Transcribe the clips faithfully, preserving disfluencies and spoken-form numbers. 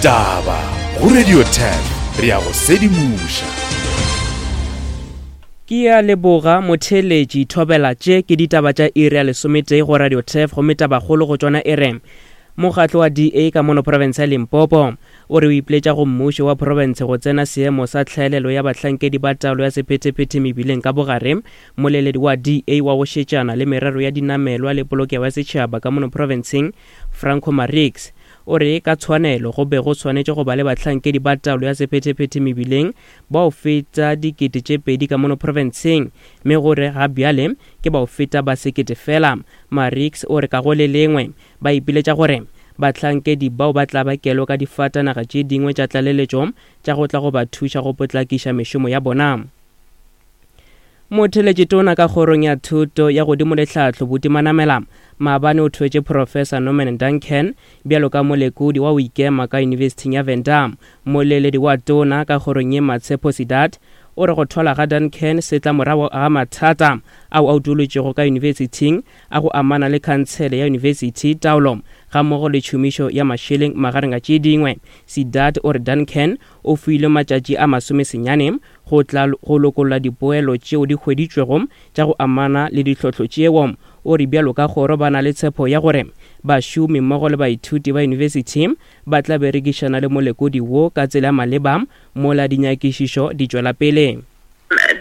Ditaba go Radio ten, re a go sedimoša. Ke a leboga motheeletši. Thobela, tše ke ditaba tša iri ya lesometee go Radio Turf, gomme tabakgolo go tšona e re mokgatlo wa D A ka mono province ya Limpopo o re o ipiletša go mmušo wa province go tsena seemo sa tlhaelelo ya bahlankedi ba taolo ya sephethephethe mebileng ka bogare. Moleledi wa D A wa go šetšana le merero ya dinamelwa le polokego ya setšhaba ka mono provinceng, Franco Marix, o re ka tshwanelo go be go swanetše go ba le bahlankedi ba taolo ya sephethephethe mebileng bao feta dikete tše pedi ka mono provinceng, mme gore ga bjale ke bao feta ba sekete fela. Marix o re ka go le lengwe ba ipiletša gore bahlankedi bao ba tla ba kelo ka difatanaga tše dingwe tša tlaleletšo tša go tla go ba thuša go potlakiša mešomo ya bona. Motheeletši tona ka kgorong ya thuto ya godimo le tlhahlo Buti Manamela maabane o thwetše Professor Norman Duncan bjalo ka molekodi wa go ikema ka Yunibesithing ya Venda. Moleledi wa tona ka kgorong ye Matshepo Sidat o re go thwala ga Duncan se tla morago ga mathata ao a utolotšego ka yunibesithing a go amana le khansele ya yunibesithi, taolo gammogo le tšhomišo ya mašeleng magareng a tše dingwe. Sidat o re Duncan o filwe matšatši a masomesenyane go tla go lokolla dipoelo tšeo di hweditšwego tša go amana le ditlhohlo tšeo. O re bjalo ka kgoro ba na le tshepo ya gore bašomi mmogo le baithuti ba yunibesithi ba tla berekišana le molekodi wo ka tsela ya maleba mola dinyakišišo di tšwela pele.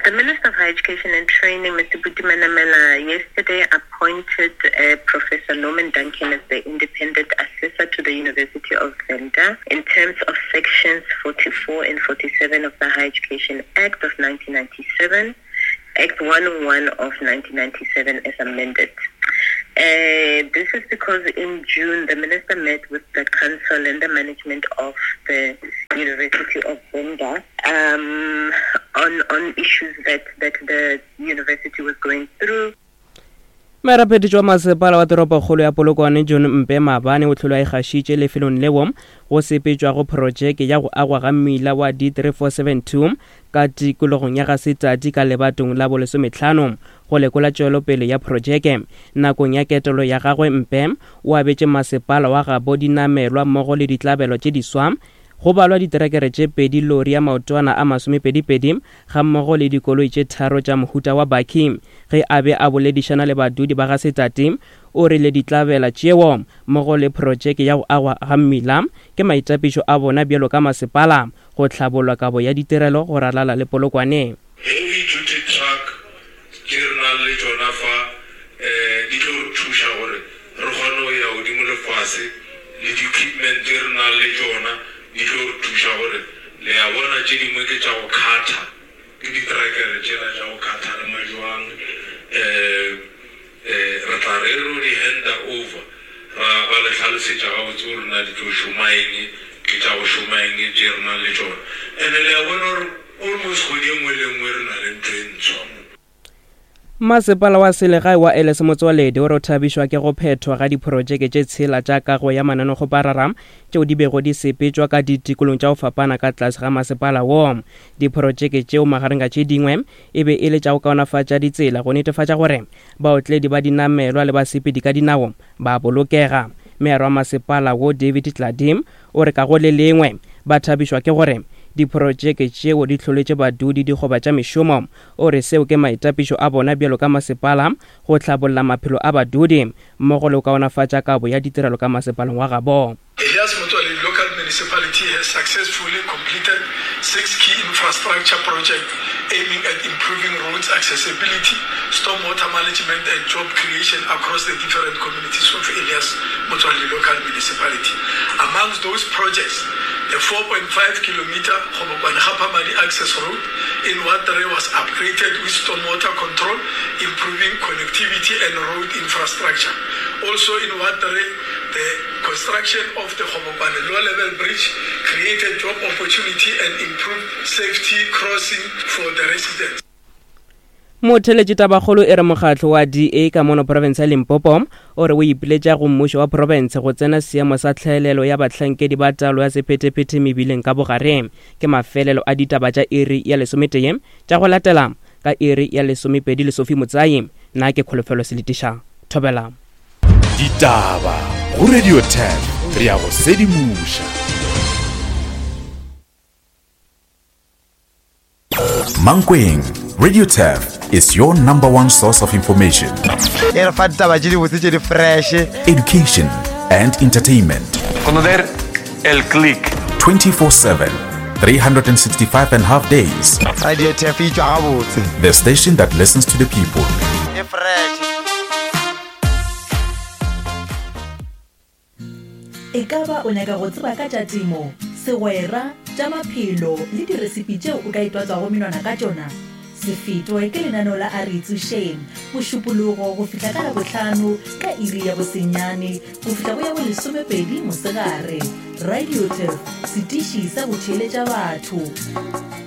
The Minister of Higher Education and Training, Mister Buti Manamela, yesterday appointed, uh, Professor Norman Duncan as the independent assessor to the University of Venda in terms of sections forty-four and forty-seven of the Higher Education Act of nineteen ninety-seven, Act one oh one of nineteen ninety-seven as amended. Uh, this is because in June, the minister met with the council and the management of the University of Venda, um, on, on issues that, that the university was going through. Merapetši wa masepala wa toropokgolo ya Polokwane John Mpe maabane o tlholo a ikgašitše lefelong leo go sepetšwago projeke ya go agwa ga mmila wa D three four seven two ka tikologong ya Gasetadi ka lebatong la bolesometlhano go lekola tšwelopele ya projeke. Nakong ya ketelo ya gagwe Mpe o abetše masepala wa gabo dinamelwa mmogo le ditlabelo tše diswa, go balwa diterekere tše pedi, lori ya maotwana a masomepedipedi gammogo le dikoloi tše tharo tša mohuta wa bakkie. Ge a be a boledišana le badudi ba Gasetadi, o rile ditlabela tšeo mmogo le projeke ya go agwa ga mmila ke maitapišo a bona bjalo ka masepala go hlabollwa kabo ya ditirelo go ralala le Polokwane. Heavy duty truck tše re nang le tšona fa, eh, di tlo re thuša gore re kgone go ya godimo le fase, le di-equipment tše re nang le tšona di tlo re thuša gore le a bona tše dingwe ke tša go kgatha, ke diterekere tšela tša go kgatha le majwang, eh, eh, re tla re ro di handa over, ra ba le hlalosetša gabotse gore na di tlo šoma eng, ke tša go šoma eng tše re nang le tšona. And-e le a bona gore almost kgwedi e nngwe le nngwe re na le ntho e ntshwa mo. Masepala wa selegae wa Elias Motsoaledi o re o thabišwa ke go phethwa ga diprojeke tše tshela tša kago ya mananekgoparara tšeo di bego di sepetšwa ka ditikolong tša go fapana ka tlase ga masepala wo. Diprojeke tšeo magareng ga tše dingwe e be e le tša go kaonafatša ditsela go netefatša gore baotledi ba dinamelwa le basepedi ka dinao ba bolokega. Meara wa masepala wo David Tladi o re ka go le lengwe ba thabišwa ke gore diprojeke tšeo di hloletše badudi dikgoba tša mešomo. O re seo ke maitapišo a bona bjalo ka masepala go hlabolla maphelo a badudi mmogo le go kaonafatša kabo ya ditirelo ka masepaleng wa gabo. Elias Motsoaledi Local Municipality has successfully completed six key infrastructure projects aiming at improving roads accessibility, stormwater management and job creation across the different communities of Elias Motsoaledi Local Municipality. Amongst those projects, the four point five kilometer Kgobokwane-Gaphamadi access road in Ward three was upgraded with stormwater control, improving connectivity and road infrastructure. Also in Ward three, the construction of the Kgobokwane low-level bridge created job opportunity and improved safety crossing for the residents. Motheeletši tabakgolo e re mokgatlo wa D A ka mono province ya Limpopo o re o ipiletša go mmušo wa province go tsena seemo sa tlhaelelo ya bahlankedi ba taolo ya sephethephethe mebileng ka bogare. Ke mafelelo a ditaba tša iri ya lesometee tša go latela ka iri ya lesomepedi le Sophie Motsai. Nna ke Kholofelo Seletiša. Thobela. Ditaba go Radio ten, re a go sedimoša. Mankweng, Radio Turf is your number one source of information. E re fa ditaba tše dibotse tše di fresh. Education and entertainment. Conocer el click. twenty-four seven, three hundred sixty-five and a half days. Radio Turf e tšwa gabotse. The station that listens to the people. E fresh. E ka ba o nyaka go tseba ka tša temo, segwera, tša maphelo le diresipi tšeo o ka itwatswago menwana ka tšona? Se fetwe ke lenaneo la A Re Itsošeng, Mošupologo go fihla ka Labohlano ka iri ya bosenyane go fihla go ya bolesomepedi mosegare. Radio Turf, setiši sa go theeletša batho.